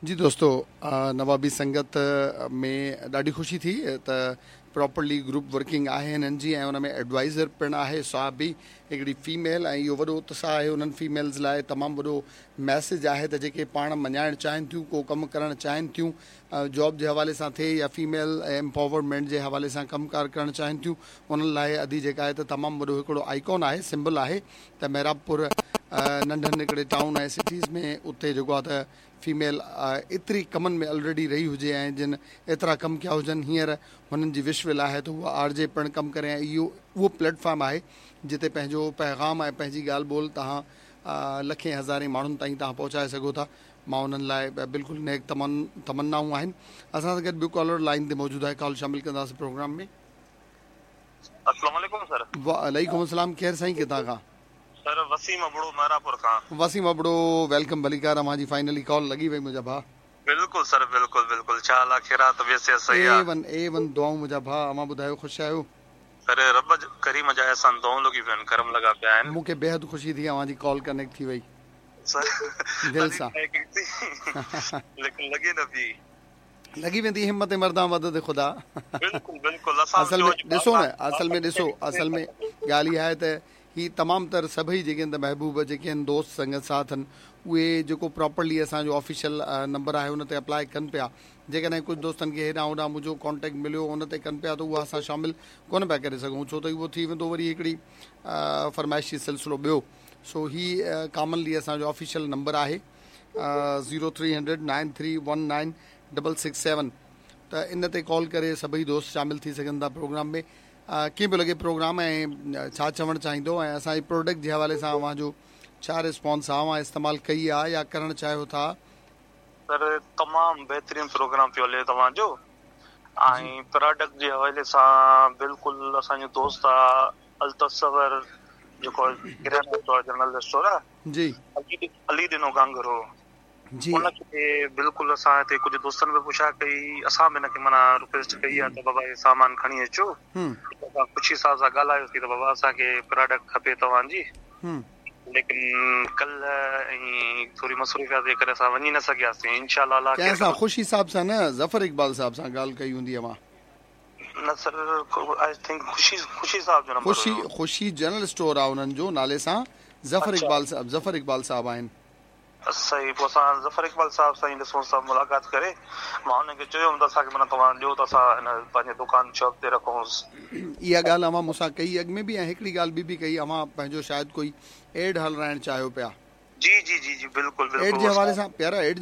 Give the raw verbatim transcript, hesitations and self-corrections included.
جي دوستو، نوابي سنگت ۾ ڏاڍي خوشي ٿي ته پراپرلي گروپ ورڪنگ آهي هنن جي ۽ ان ۾ ايڊوائزر پڻ آهي صاحب به هڪڙي فيميل ۽ اهو وڏو اتساهه آهي انهن فيميلز لاء، تمام وڏو ميسيج آهي ته جيڪي پاڻ مڃائڻ چاهين ٿيون، ڪو ڪم ڪرڻ چاهين ٿيون، جاب جي حوالي سان ٿئي يا فيميل امپاورمينٽ جي حوالي سان ڪم ڪار ڪرڻ چاهين ٿيون، انهن لاء ادي جيڪا آهي ته تمام وڏو هڪڙو آئيڪون آهي، سمبل آهي ته محرابپور ننڍن هڪڙي ٽائون ۽ سٽيز ۾ اتي جيڪو آهي ته فيميل ايتري ڪمن ۾ الريڊي رهي هجي ۽ جن ايترا ڪم ڪيا هجن، هينئر هنن جي وش ول آهي ته هوء آر جي پڻ ڪم ڪري ۽ اهو اهو پليٽ فارم آهي جتي پنهنجو پيغام ۽ پنهنجي ڳالهه ٻولهه توهان لکين هزارين ماڻهن تائين توهان پهچائي سگهو ٿا. مان انهن لاء بلڪل نيڪ تمنائون آهن. اسان سان گڏ ٻيو ڪالر لائين تي موجود آهي، ڪال شامل ڪنداسين پروگرام ۾. السلام عليڪم سر. وعليڪم السلام، ڪير سائين ڪٿان کان؟ سر وسيم ابڙو محرابپور کان. وسيم ابڙو welcome, ڀليڪار، اوهان جي فائنلي ڪال لڳي وئي منهنجا ڀاء. بلڪل سر بلڪل بلڪل، ڇا حال آ، خير آ، طبيعت صحت صحيح آ؟ اي ون اي ون دعائون منهنجا ڀاء، اوهان ٻڌايو خوش آهيو؟ سر رب ڪريم جا احسان، دعائون لڳي پيون آهن، ڪرم لڳا پيا آهن. مون کي بيحد خوشي ٿي اوهان جي ڪال ڪنيڪٽ ٿي وئي. سر دل سان ليڪن لڳي نه پئي. لڳي ويندي، همت مردان مدد خدا. بلڪل بلڪل. اسان اصل ۾ ڏسو نه، اصل ۾ ڏسو، اصل ۾ ڳالهه اها آهي ته هي تمام تر سڀئي جيڪي آهن ته محبوب جيڪي آهن، دوست سنگت ساٿ آهن، اهي جيڪو پراپرلي اسان جو آفيشل نمبر آهي ان تي اپلائي ڪن پيا. جيڪڏهن ڪجهه دوستن کي هيڏانهن هوڏانهن منهنجو ڪانٽيڪٽ مليو، ان تي ڪن پيا ته اها اسان شامل ڪونه پيا ڪري سگهون، ڇو ته اهو ٿي ويندو وري هڪڙي فرمائشي سلسلو ٻيو. سو هي ڪامنلي اسان جو آفيشل نمبر آهي zero three hundred nine three one nine double six seven, ته ان تي ڪال ڪري سڀئي دوست شامل ٿي سگهن ٿا پروگرام ۾. ڪيئن پيو لڳي پروگرام ۽ ڇا چوڻ چاهيندو ۽ اسان جي پروڊڪٽ جي حوالي سان اوهان جو ڇا رسپانس آهي، اوهان استعمال ڪئي آهي يا ڪرڻ چاهيو ٿا؟ سر تمام بهترين پروگرام پيو هلي توهان جو ۽ پراڊڪٽ جي حوالي سان بلڪل اسان جو دوست آ التصور جيڪو ڪريانا اسٽور، جنرل اسٽور آ. جي. علي ڏنو گانگرو. جي. ان کي بلڪل اسان هتي ڪجهه دوستن به پڇا ڪئي، اسان به هن کي معنيٰ رڪويسٽ ڪئي آهي ته بابا هي سامان کڻي اچو. اسان خوشي صاحب سان ڳالهايوسين ته بابا اسان کي پراڊڪٽ کپي توهان جي، ليڪن ڪلهه ۽ ٿوري مصروفيات جي ڪري اسان وڃي نه سگهياسين. انشاء الله الله ڪنهن سان؟ خوشي صاحب سان نه، ظفر اقبال صاحب سان ڳالهه ڪئي هوندي اوهان. نه سر، I think خوشي خوشي صاحب جو نمبر. خوشي خوشي جنرل اسٽور آهي انهن جو نالي سان، ظفر اقبال صاحب، ظفر اقبال صاحب آهن. صحيح، پوء اسان ظفر اقبال صاحب سان ئي ڏسون سڀ ملاقات ڪري مان انهن کي چيو هوم ته اسان کي معنيٰ توهان ڏيو ته اسان هن پنهنجي دڪان شاپ تي رکونس. اها ڳالهه اوهان مون سان ڪئي اڳ ۾ به ۽ هڪڙي ڳالهه ٻي به ڪئي، اوهان پنهنجو شايد ڪوئي ايڊ هلرائڻ چاهيو پيا. جي جي جي جي بلڪل بلڪل. ايڊ جي حوالي سان پيارا، ايڊ